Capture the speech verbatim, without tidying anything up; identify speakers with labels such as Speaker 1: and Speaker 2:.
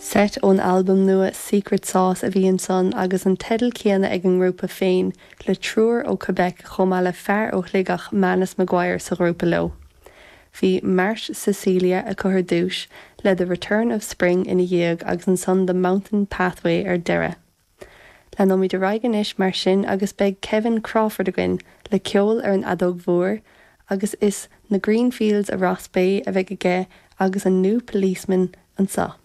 Speaker 1: Seit ón albam nua Secret Sauce a bhí ansan agus an teideal céanna ag an ngrúpa féin le triúr ó Quebec chomh maith le fear ó Shligeach Manus Maguire sa ghrúpa leo. Bhí Marsh Cecilia acu ar dtús le The Return of Spring ina dhiaidh agus ansan The Mountain Pathway ar deireadh. Leanfaimid ar aghaidh anois mar sin agus beidh Kevin Crawford againn le ceol ar an fheadóg mhór agus is na Greenfields of Rossbeigh a bheidh aige agus an New Policeman anseo.